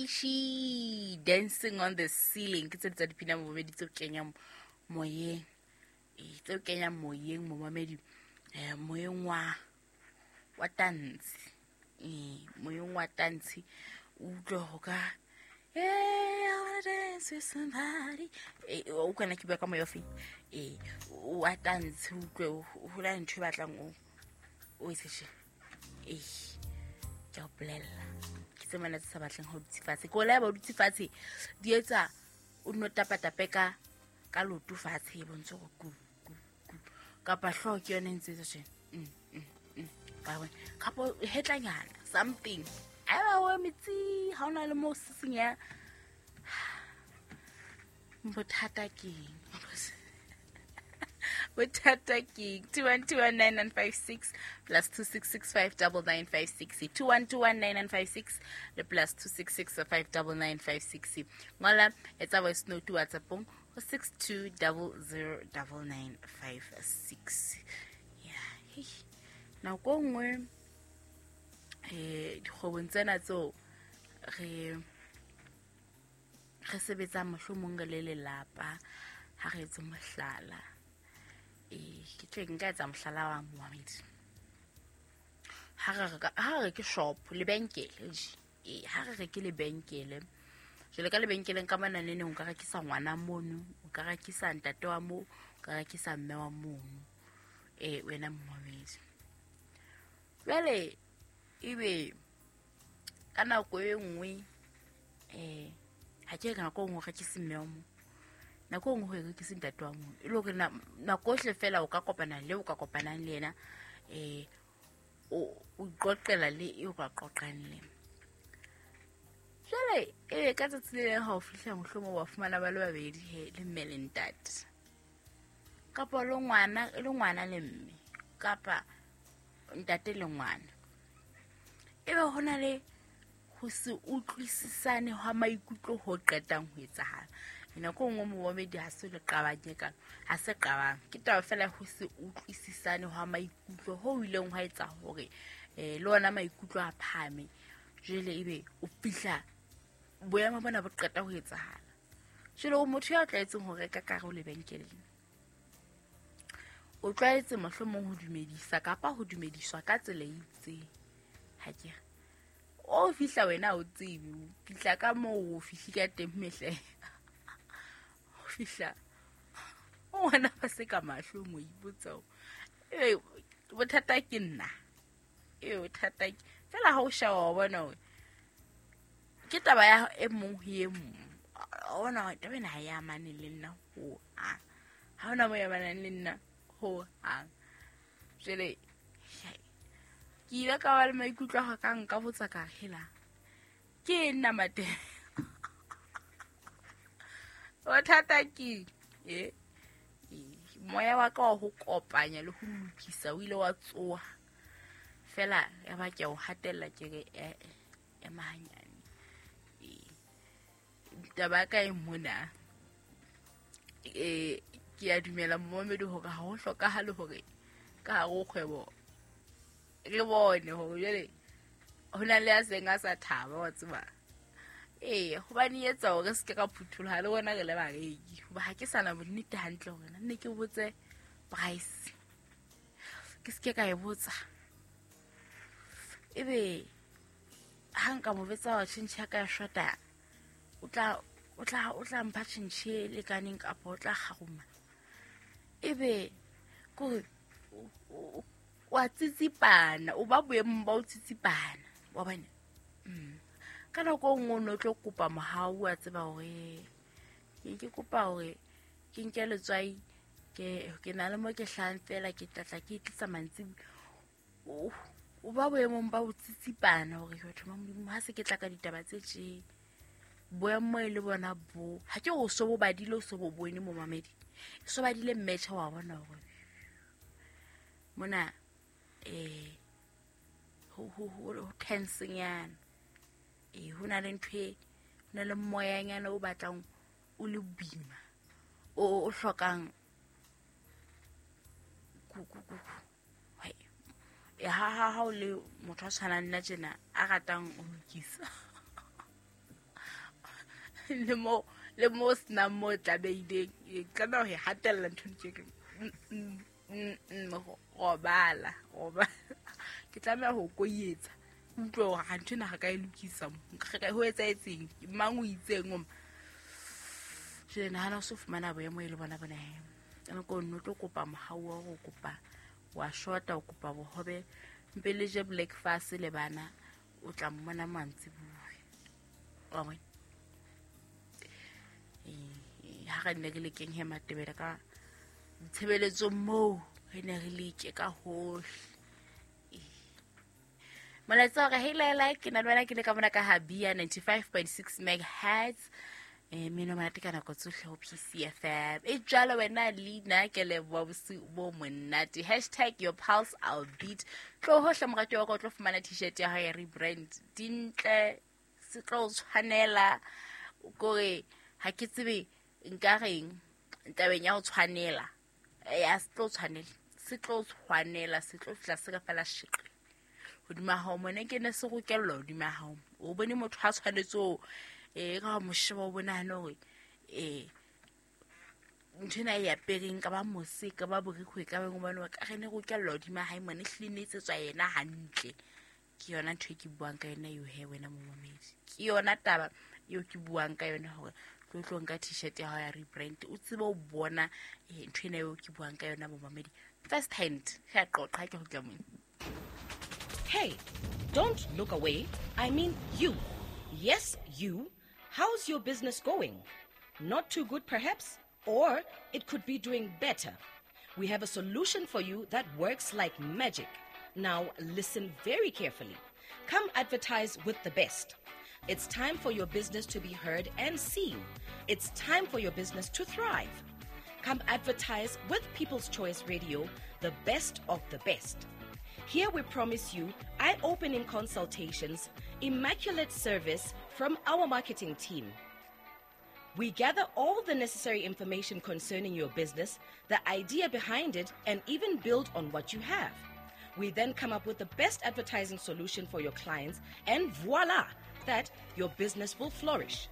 Avicii, Dancing on the Ceiling. Ke tse tsa dipina momamedi tseo kenyang moyeng. Ee, tseo kenyang moyeng momamedi. Moyeng wa tantshe. Ee, moyeng wa tantshe. O utlwe ho ka hey, I wanna dance with somebody. O kana ke bua ka moya ofe? Ee, wa tantshe o utlwe ho na le ntho e batlang o etse tje. Ee, ke a o bolella. Ke tse mana tse sa batleng ha o dutse fatshe. Ke o laeba o dutse fatshe, di etsa o nno tapa-tape ka loto fatshe e bontshe hore ku, ku, ku. Kapa hlooho ke yona e ntse etsa tje. Wa bona? Kapa hetlanyana, something. Haeba o eme tsi, ha ona le moo sisinya. Bothata ke eng? Bothata ke eng? 2121956 plus 2665995 6. 2121956 le plus 2665995 6. Ngola, etsa voice note WhatsApp-ong ho 62009956. Yeah, hey. Nako nngwe dikgwebong tsena tseo re sebetsang mohlomong re le lelapa, ha re etse mohlala. Ke tle nka etsa mohlala wa momamedi. Ha re ke shop, lebenkele je. Ha re reke lebenkele. Jwale ka lebenkeleng ka mona neneng o ka rekisa ngwana mono, o ka rekisa ntate wa moo, o ka rekisa mme wa mono. Wena momamedi. Jwale ebe ka nako e nngwe ha ke re nako e nngwe o rekise mme wa moo, nako e nngwe ho rekise ntate wa moo. E le hore nako yohle fela o ka kopana le o ka kopanang le yena, o iqoqela le eo ka qoqang le. Jwale ebe ka tsatsi le leng ha o fihla mohlomong wa fumana ba le babedi he, le mme le ntate. Kapa le ngwana, le ngwana le mme, kapa ntate le ngwana. Ebe ho na le ho se utlwisisane hwa maikutlo ho qetang ho etsahala. Nako e nngwe momamedi ha se le qabang e kalo, ha se qabang. Ke taba fela ho se utlwisisane hwa maikutlo ho ileng hwa etsa hore le ona maikutlo a phahame. Jwale ebe o fihla boemo bona bo qeta ho etsahala. Jwale o motho ya tlwaetseng ho reka ka hare ho lebenkeleng. O tlwaetse mohlomong ho dumedisa kapa ho dumediswa ka tsela e itseng. Ha ke re o fihla wena o tsebe, o fihla ka moo o fihli ka teng mehle. O fihla o ngwana ba se ka mahlong o ipotsa hore, ebe bothata ke nna. Ebe bothata ke fela ha o sheba wa bona hore ke taba ya e mong ho e mong. Wa bona hore taba ena ha e amane le nna ho hang. Ha hona moo e amanang le nna ho hang. Jwale ke ile ka ba le maikutlo a hore ka nka botsa ka re, hela, ke eng nna Matebe? Bothata ke eng? Moya wa ka wa ho kopanya le ho lokisa o ile wa tsoha. Fela ya ba ke o hatella ke re, ema hanyane. Taba ya ka e mona. Ke a dumela momamedi hore ha ho hlokahale hore ka hare ho kgwebo re bone hore jwale ho na le ya seng a sa thaba, wa tseba. Hobane e etsa hore re se ke ra phutholoha le rona re le bareki. Hoba ha ke sa na bonnete hantle hore na nne ke botse price. Ke se ke ka e botsa. Ebe ha nka mo betsa wa tjhentjhe ya ka ya shota, o tla mpha tjhentjhe e lekaneng kapa o tla kgaruma. Ebe kore wa tsitsipana, o ba boemong ba o tsitsipana, wa bona? Ka nako e nngwe o no tlo kopa mohau, wa tseba hore ke kopa hore ke nke letswai, ke na le mo ke hlahang fela, ke tla tla ke tlisa mantsibuya. O ba boemong ba ho tsitsipana hore batho ba Modimo ha se ke tla ka ditaba tse tje. Boemo e le bona bo. Ha ke o so bo badile, o so bo bone momamedi. O so badile mmetjha wa bona hore mona, ho tense-nyana. Ho na le ntho e, ho na le moyanyana o batlang o le boima, o hlokang ku. Hai. Ha o le motho a tshwanang nna tjena, a ratang ho lokisa. Le mo le mo senang mo tlamehileng, tlameha ho e hatella ntho ke robala roba. Ke tlameha ho koietsa, utlwe hore ha ntho ena ga ka e lokisa mo ho etsahetseng, mang o itseng o jwale. Nahana o so fumana boemo e le bona bona he, ka nako nne o tlo kopa mohau wa hore o kopa wa shota, o kopa bohobe mpe le je breakfast le bana, o tla mmona mantsibuya wa bona. Ha re ne re lekeng he Matebele ka tshebeletsong moo, re ne re leke ka hohle. Molaetsa hore hei laela, ke na le wena, ke le ka mona ka habia 95.6 megahertz, mmino monate ka nako tsohle ho PCFM e jalo. Wena leina ke leboa, bosiu bo monate. Hashtag your pulse our beat. Tlo hohle morati wa ka, o tlo fumana T-shirt ya hao ya rebrand, dintle, se tlo o tshwanela kore ha ke tsebe nka reng tabeng ya ho tshwanela ya se tlo tshwanela, se tlo tshwanela, se tlo fihla se ka fela sheqe hodima hao mone, ke ne se rokellwa hodima hao. O bone motho ha tshwanetse o ka mo sheba, o bonahane hore ntho ena e apereng ka ba mose, ka ba borikgwe, ka beng hobane ka re ne rokellwa hodima hae mone, ehlile ne etsetswa yena hantle. Ke yona ntho e ke buang ka yona eo he, wena momamedi, ke yona taba eo ke buang ka yona, hore tlo tlo nka T-shirt ya hao ya rebrand, o tsebe o bona ntho ena eo ke buang ka yona, momamedi, first hand. Ge a qoqa ha ke kgutla mone. Hey, don't look away. I mean you. Yes, you. How's your business going? Not too good, perhaps? Or it could be doing better. We have a solution for you that works like magic. Now, listen very carefully. Come advertise with the best. It's time for your business to be heard and seen. It's time for your business to thrive. Come advertise with People's Choice Radio, the best of the best. Here we promise you eye opening consultations, immaculate service from our marketing team. We gather all the necessary information concerning your business, the idea behind it, and even build on what you have. We then come up with the best advertising solution for your clients, and voila, that your business will flourish.